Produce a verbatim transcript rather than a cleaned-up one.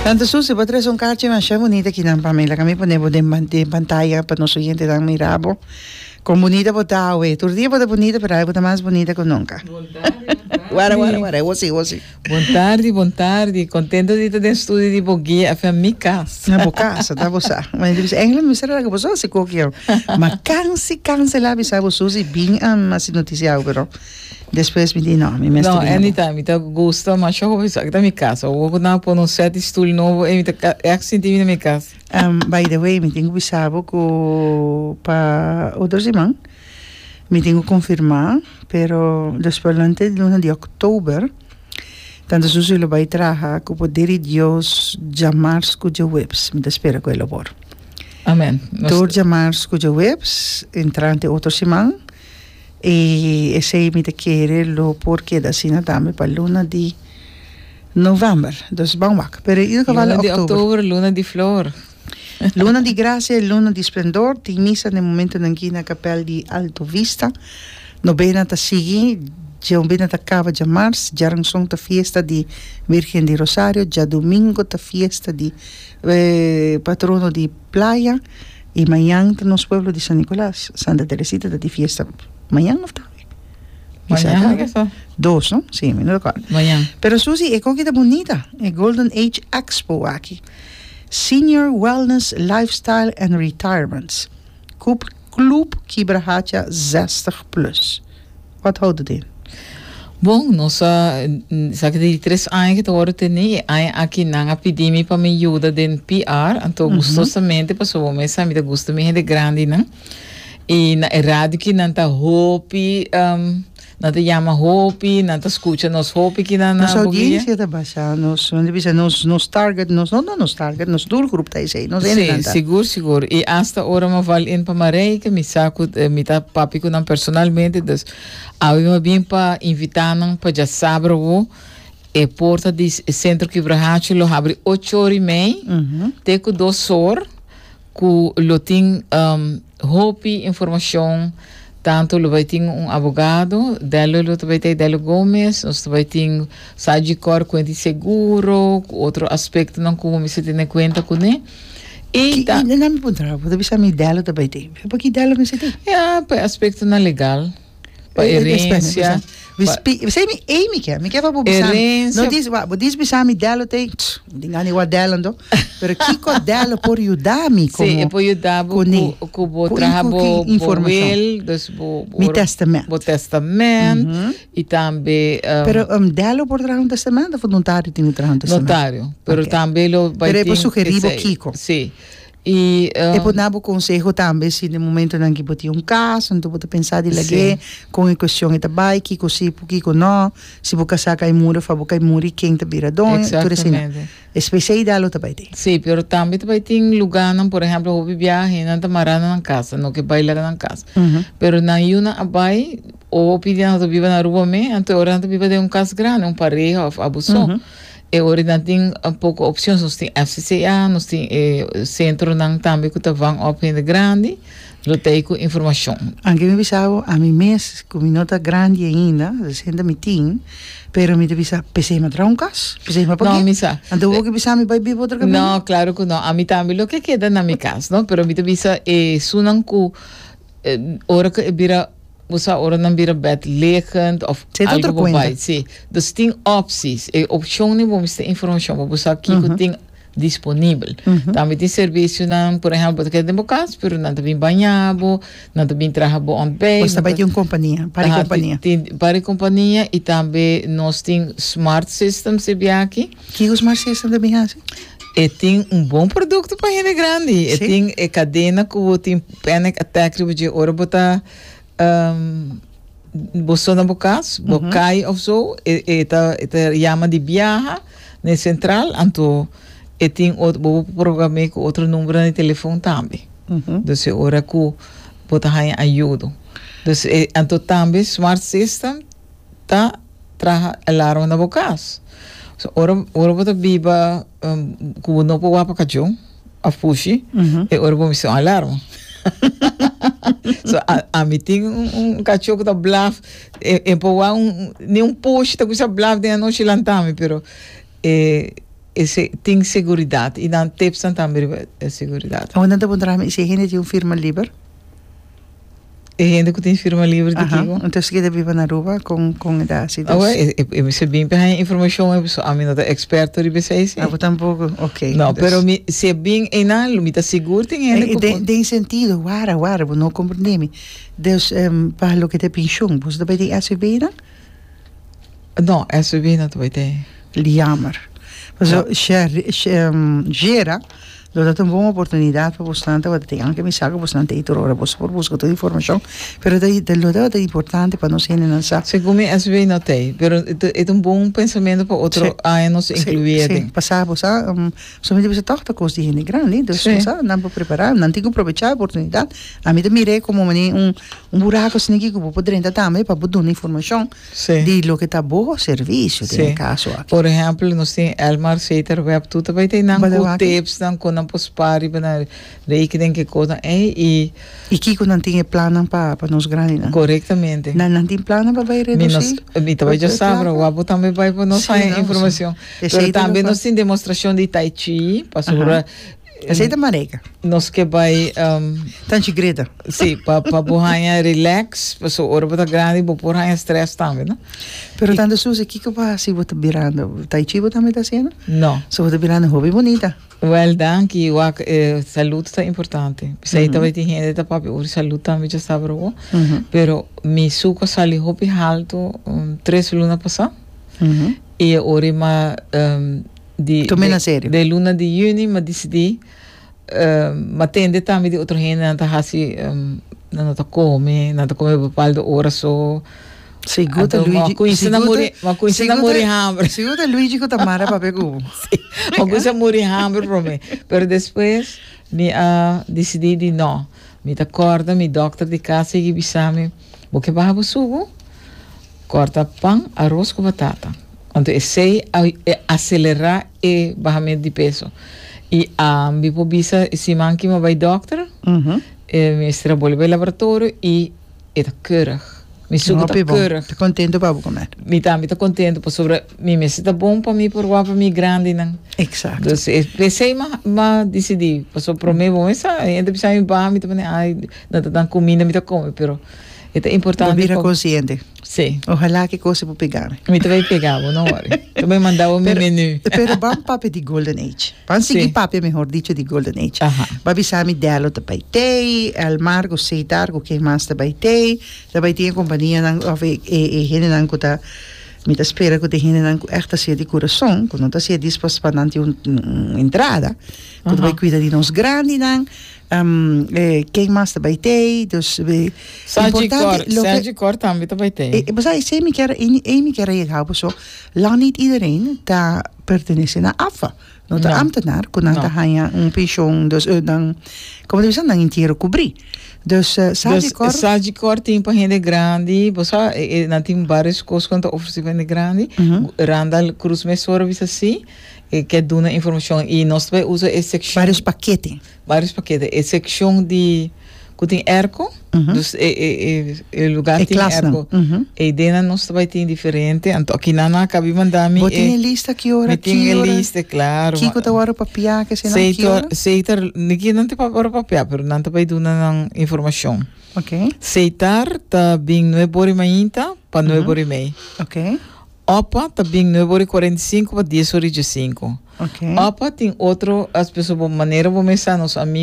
Tanta Susi, bo a trese un karchi masha bunita akinan pa mi. Laga mi pone bo den den pantaya pa nos oyentenan mira bo. Kon bunita bo ta awe. Tur dia bo ta bunita, pero awe bo ta mas bunita ku nunka. Bon tardi, bon tardi. Wara, wara, wara. Awor si, awor si. Bon tardi, bon tardi. Contento di ta den studio di Boguia F M, mi cas. Na bo casa, ta bo sa. Ma mi bisa, eigenlijk mi mester laga bo so hasi koki awe. Ma kansi, kanselá bisa bo Susi bin hasi notisia awe, pero. Despues mi di no, mi mester No, bini abo. anytime. Mi ta gusta masha hopi esaki ta mi cas. Awor cu nan a pone un set di stoel nobo ey mi ta ca echt sinti mi na mi cas. Um, by the way, mi tin cu bisa bo cu pa otro siman mi tin cu confirma, pero despues lante di luna di october, Tante Susi lo bay traha cu poder di Dios djamars cu djaweps. Mi ta spera cu e lo por. Amen. Nos Tur djamars cu djaweps, entrante otro siman. I esei mi ta kere lo por keda asina tambe pa luna di november. Dus ban wak. Pero in ieder geval Luna di oktober. oktober, luna di flor. Luna di gracia i luna di splendor. Tin misa na e momentonan aki na kapèl di Alto Vista. Nobena ta sigui, djaobena ta kaba djamars, djaranson ta fiesta di Virgen di Rosario, djadomingo ta fiesta di patrono di Playa. I mañan ta nos pueblo di San Nicolas. Santa Teresita ta di fiesta mañan of tawe? Mañan mi ke sa. Dos, no? Sí, mi no recorda. Mañan. Pero Susie, e koki ta bunita, e Golden Age Expo aki. Senior Wellness, Lifestyle and Retirements. Cup Club Kibrahacha zestig plus. Wat houdt het in? Bon, nos a, esaki ta di tres aña ku ta wòrdu tení. E aña aki nan a pidi mi pa mi yuda den P R, anto gustosamente pasobra bo mes sa mi ta gusta mi hende grandinan. I na e radio ki nan ta hopi, nan ta yama hopi, nan ta skucha nos hopi ki nan na Nos Boguia. audiencia ta basá, nos, nan ta bisa nos, nos target, nos, no, no nos target, nos doelgroep ta esei, nos hendenan Sí, ta. sigur, sigur. I asta ora mi a val in pa Marijke, mi sa ku mi ta papia ku nan personalmente, dus Awe mi a bin pa invitá nan pa djasabra awo. E porta di e Sentro Kibrahachi lo habri ocho or i mei te ku dos or ku lo tin hopi informashon. Tantu lo bai tin un abogado, Delio lo ta bai ta, Delio Gomez, nos ta bai tin Sagicor kuenta di seguro, ku otro aspektonan ku bo mester tene kuenta kuné. I ta. Ki, nan mi puntra bo, bo ta bisa mi Delio ta bai tin. Pa ki Delio mester tin? Ya, pa e aspektonan legal. Pa herencia. P'esei mi ei mi ke, mi ke pa bo bisa mi. No dis, wak, bo dis bisa mi Dello te, mi tin gana di wak Dello anto, pero kiko Dello por yuda mi komo? Sí, e por yuda bo ku ku bo traha bo bo wil, dus bo Mi testament. Bo testament i tambe Pero Dello por traha un testament of notario tin ku traha un testament? Notario, pero tambe lo bai Pero e tin por sugerí bo kiko? Sí. I E por na bo konseho tambe si den momentonan ki bo tin un kas, anto bo ta pensa di lag'é, kon e kuestion e ta bai, kiko si, kiko no, si bo kasá kai muri of abo kai muri, ken ta bira doño, tur esei. Espesei da lo ta bai tin. Sí, pero tambe ta bai tin lugánan, por ehèmpel, hopi biaha hendenan ta mará na nan kas, nan no ke bai laga nan kas. Pero nan yunan a bai, hopi di nan ta biba na Aruba me, anto e ora nan ta biba den un kas grandi, un pareha of abo so. E ora nan tin poko opcion, nos tin F C C A, nos tin e centronan tambe cu ta van op hende grandi, lo ta ey cu informacion. Anke mi bisa bo, ami mes cu mi no ta grandi ainda, sesenta mi tin, pero mi ta bisa, p'esey mi a traha un cas, p'esey mi a No, pag'é. mi sa. Anto bo ke bisa mi bai biba otro caminda? No, claro cu no. Ami tambe lo ke keda na mi cas, no, pero mi ta bisa esunnan cu ora cu e bira. Bo sa ora nan bira bedliggend of Zit algo otro bo cuenta. bai. Sí. Dus tin opties. E opcionnan bo mester informacion pa bo sa kico tin disponibel. Tambe tin servicionan, por ehempel, bo ta keda den bo cas, pero nan ta bin baña bo, nan ta bin traha bo ontbijt. Pues ta bai tin un compania, par di Aha, compania. tin par di compania y tambe nos tin smart systems e biaha aki. Kico smart system ta bin haci? E tin un bon producto pa hende grandi. E Sí. tin e cadena cu bo tin panic attack riba dje ora bo ta Bo so na bo kas, bo kai of so, e e ta e ta yama di biaha na e sentral, anto e tin ot bo por program'é ku otro numbernan di telefon tambe. Dus e ora ku bo ta haña ayudo. Dus e anto tambe smart system ta traha alarma na bo kas. So ora ora bo ta biba ku bo no por wak pa kachó of pushi, e ora bo mester un alarma. So a ami tin un un kachó ku ta blaf e e por wak un ni un pushi ta kuminsá blaf den anochi lanta mi pero e Ese, tin seguridat i nan tipsnan tambe riba e seguridat. Awor nan ta puntra mi si e hende tin un firma liber. E hende ku tin firma liber di Aha, kiko? entonces keda biba na Aruba kon kon e ta hasi Awe, dus. e, e, e mester bin pa haña informashon e pasobra ami no ta eksperto riba esei si. Abo tampoko, ok. No, Dus. pero mi si e bin einan lo mi ta sigur tin hende E, ku den, por. Den sentido, wara, wara, bo no komprendé mi. Dus pa loke ta e penshon, boso ta bai den S V B nan? No, S V B no ta bai den. Jammer. Paso, Gera, lo ta un bon oportunidad pa bosnan tabata tin, aunke mi sa ku bosnan ta ei tur ora, bos por buska tur informashon, pero ta lo tabata importante pa nos hendenan sa. Segun mi S V B no ta ei, pero e ta un bon pensamentu pa otro aña nos inkluí Sí, den. Pasá bo sa, um, solamente bisa toch ta kos di hende grandi, dus Sí. bo sa, nan por prepará, nan tin ku aprovechá e oportunidat. Ami ta mir'é komo manera un un buraku asina ku bo por drenta tambe pa bo duna informashon Sí. di loke ta bo servisio den e Sí. kaso aki. Por ehèmpel, nos tin Elmar, Setar, Web, tur ta bai tin nan ku Badawaki. tips nan kon nan por spaar riba nan rekening ke kosnan ei i I kiko nan tin e plannan pa pa nos grandinan. Korektamente. Nan nan tin plannan pa bai Mi nos, redusí mi ta bai e djasabra, plaka? wak tambe bai pa nos Sí, haña no, informashon. esei Pero ta tambe lo nos tin demostrashon di tai chi, pasobra Esei ta Mareka. nos ke bai um, Tanchi Greta. Sí, pa pa bo haña relax, paso ora bo ta grandi bo por haña stress tambe, no? Pero tanto Suzy, kiko pa si bo ta birando? Tai chi bo tambe ta hasiendo? No. So bo ta birando hopi bunita. Wel, danki. Wak, eh, salú ta importante. Esei tambe tin hende ta papia over salú tambe djasabra awor. Mhm. Pero mi suku a sali hopi haltu um, tres luna pasá. Mhm. I ora m'a um, di Tum'é de, na serio. De luna di yüni m'a disidí um, m'a tende tambe di otro hende nan ta hasi um, nan no ta kome, nan ta kome bepaalde ora so. Sigur ta Anto, Luigi. m'a kuminsá na muri, m'a kuminsá na muri hamber. Sigur ta Luigi ku Tamara papia ku bo. Sí. M'a kuminsá muri hamber promé. Pero despues mi a disidí di no. Mi ta kòrda mi dòkter di kas a bisa mi, bo ke baha bo suku? Kòrta pan, aros ku batata. Anto esei a aselerá e bahamentu di peso. I um, mi por bisa siman ku m'a bai dòkter, Mhm. eh, mi a bolbe laboratorio i e ta keurig. Mi suku ta Hopi bon. keurig. Ta kontentu pa bo kome. Mi tambe ta kontentu pasobra mi mester ta bon pa mi por wak pa mi grandinan. Exacto. Dus p'esei m'a m'a disidí, paso promé bo sa, hende bisa mi ba mi ta pone ai, nan ta dan kuminda mi ta kome, pero e ta Bo importante. bira pa- konsiente. Sí. Ohalá ku kos por pega. Mi ta bai pega, no worry. Ta bai manda bo mi Pero, menu. pero ban papia di Golden Age. Ban sigui Sí. papia, mehor dicho, di Golden Age. Aha. B'a bisa mi Delo ta bai tei, Elmar ku Setar ku ken mas ta bai tei, ta bai tin kompanianan òf e e e hendenan ku ta mi ta spera ku e hendenan ku echt ta di kurason, ku no ta hasié despues pa nan tin un, un entrada, ku ta bai Aha. kuida di nos grandinan, um, eh, ken mas ta bai tei, dus eh, Sergi Cor, loke- Sagicor tambe ta bai tei. Eh, eh, esei mi kier ei mi kier yega so lang niet iedereen ta pertenesé na A F A. No ta No. ambtenaar, ku nan No. ta haña un pensioen, dus uh, dan komo ta nan entiero kubrí. Dus uh, Dus Sagicor, Sagicor tin pa hende grandi, bo sa, eh, eh, nan tin vários kos ku ta ofresé pa hende grandi. Mhm. Randall Cruz mesora bisa si, eh, ke duna informashon i nos ta bai usa e sekshon Vários pakete. Vários pakete. E sekshon di ku tin airco, Mhm. dus e e e, e lugá E tin klas nan. airco. Mhm. E dena nos ta bai tin diferente, anto aki nan a kaba di manda mi Bo tin e lista ki ora, mi tin ki e ora? lista, klaro. Kiko ta ora papia, ke se nan ki Seis ora? Seis niki nan ta ora papia, pero nan ta bai duna nan informashon. Ok. Setar ta bin nuebe or mainta pa nuebe or i mei. Ok. OPA ta bin nuebe or i kuarenta i sinku pa dies or i sinku. Ok. OPA tin otro, as pessoas, manera bo mesa nos amigo